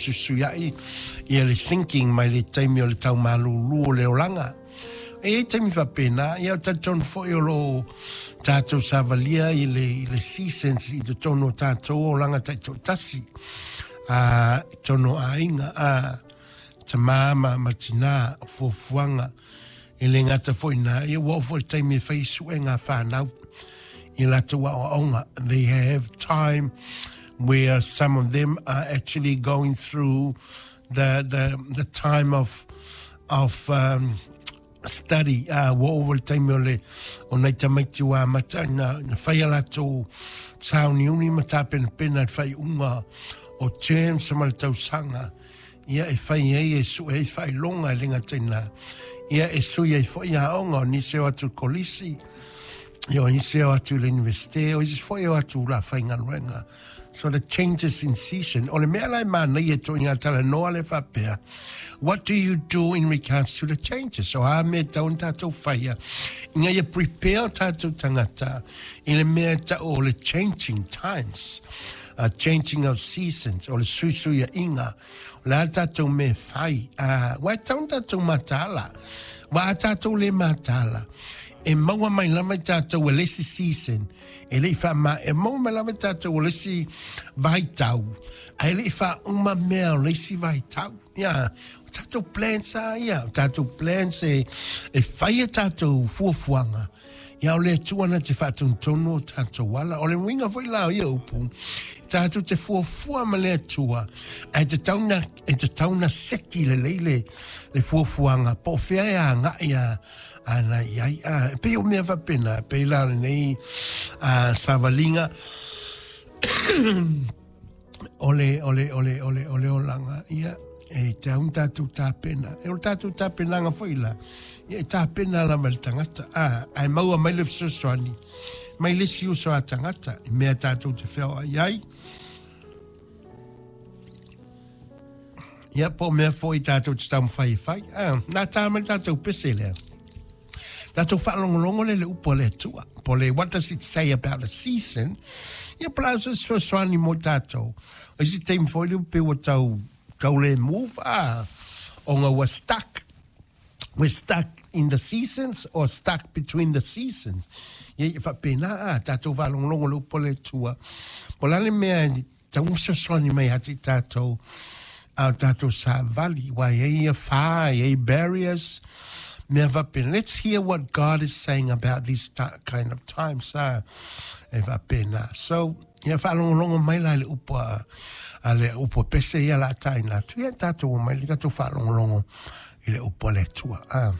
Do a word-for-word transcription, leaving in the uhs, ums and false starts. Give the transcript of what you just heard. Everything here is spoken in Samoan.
fesuisuiai ia le thinking mai le taimi o le taumalūlū o le olaga. E i ai taimi faapena, ia o talitonu foi o lo o tatou savalia i le, i le seasons i totonu o tatou olaga taitoatasi, a, i totonu o aiga, a, tamā ma, ma tinā, o fuafuaga, e le gata foi i ina, ia ua oo foi i le taimi e fai suega a fanau i latou aoaoga. They have time where some of them are actually going through the, the, the time of, of um, study. Uh, ua oo foi le taimi o le o nai tamaiti ua amata ina, ina fai a latou sauniuni ma tapenapena i le faaiuga o terms ma le tausaga ia e fai ai e sue ai faailoga e le gata i lena ia e sui ai foi aoga o nisi e o atu i le kolisi ia o nisi e o atu i le Universite o isi foi e o atu la faigaluega. So the changes in season. O le mea la e manaia e ituaiga talanoa lea faapea, what do you do in regards to the changes? O a mea e tatau ona tatou faia ina ia prepare o tatou tagata i le mea e tau o le changing times, uh, changing of seasons, o le suisuiaiga. O le a le tatou mea e fai? Uh, aua e tatau ona tatou mataala. Aua a tatou le mataala, e maua mai lava i tatou e le isi season, e le i faama, e maua mai lava i tatou o le isi vaitau, ae le i faauma mea o le isi vaitau. Ia, o tatou plans lava ia, o tatou plans e, e fai a tatou fuafuaga, ia o le Atua na te faatonutonu o tatou ala. O le uiga foi la o ia upu, tatou te fuafua ma le Atua, ae tatau na, e tatau na seki lelei le, le fuafuaga, po o fea e agai a, ana i ai. A, e pei o mea faapena, e pei la o lenei a, savaliga o le, o le, o le, o le, o le olaga, ia, e tatau ona tatou tapena. E o le tatou tapenaga foi la, ia e tapena lava e le tagata, a, ae maua mai le fesoasoani mai le isi uso a tagata i mea tatou te feoai ai. Ia, po o mea foi tatou te taumafai e fai. A, nā tā mai le tatou pese lea. Tatou faalogologo lea i le upu a le Atua. Po o le what does it say about the season? Ia, po o le a se fesoasoani mo tatou. O isi taimi foi lea pei ua tau, tau le move, a, ona ua stuck. We're stuck in the seasons or stuck between the seasons. Ia, ia faapena, a, tatou faalogologo i le upu a le Atua. Po o le a le mea e tau fesoasoani mai ia te i tatou, a o tatou savali, aua e i ai ia fa, e i ai barriers, mea faapena. Let's hear what God is saying about these kind of times, a, e faapena. So, ia faalogologo mai la i le upu a, a le upu a pese ia la taina atu. Ia tatou omai le tatou faalogologo i le upu a le Atua. A.